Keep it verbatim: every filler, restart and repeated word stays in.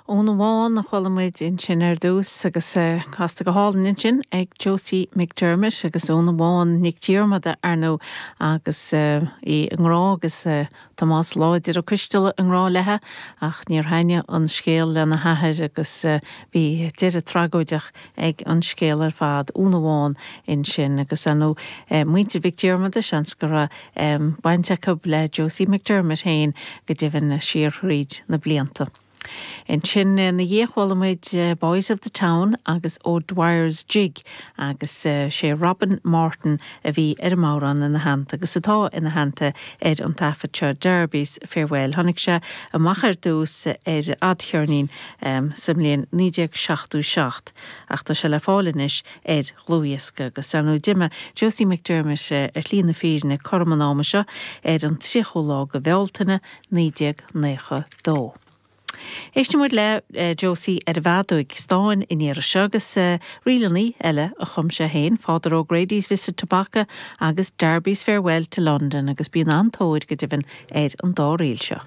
Úna Bhán a chuala muid ansin ar dtús agus casta go hálainn ansin ag Josie McDermott agus Úna Bhán Nic Diarmada ar ndóigh agus í i ngrá agus Tomás Láidir Ó Coisteala i ngrá léi ach níor thaitin an scéal lena hathair agus bhí deireadh tragóideach ag an scéal ar fad Úna Bhán ansin agus ar ndóigh muintir Mhic Diarmada seans go raibh baint acu le Josie McDermott féin go deimhin siar thríd na blianta. Ansin ina dhiaidh chuala muid Boys of the Town agus O'Dwyer's Jig agus sé Robin Martin a bhí ar an amhrán ina theannta agus atá ina theannta ar an taifead seo Darby's Farewell. Tháinig sé amach ar dtús ar fhadcheirnín um, sa mbliain naoi déag seachtó seacht ach tá sé le fáil anois ar dhlúthdhiosca agus ar ndóigh d'imigh Josie McDermott ar shlí na fírinne cothrom an ama seo ar an tríochú lá de Bhealtaine naoi déag nócha dó. Éistfidh muid le uh, Josie ar an bhfeadóg stáin in iarra seo agus uh, ríleanna eile a chum sé féin, Father O'Grady's Visit to Bacach agus Darby's Farewell to London agus bíonn an-tóir go deimhin ar an dá ríl seo.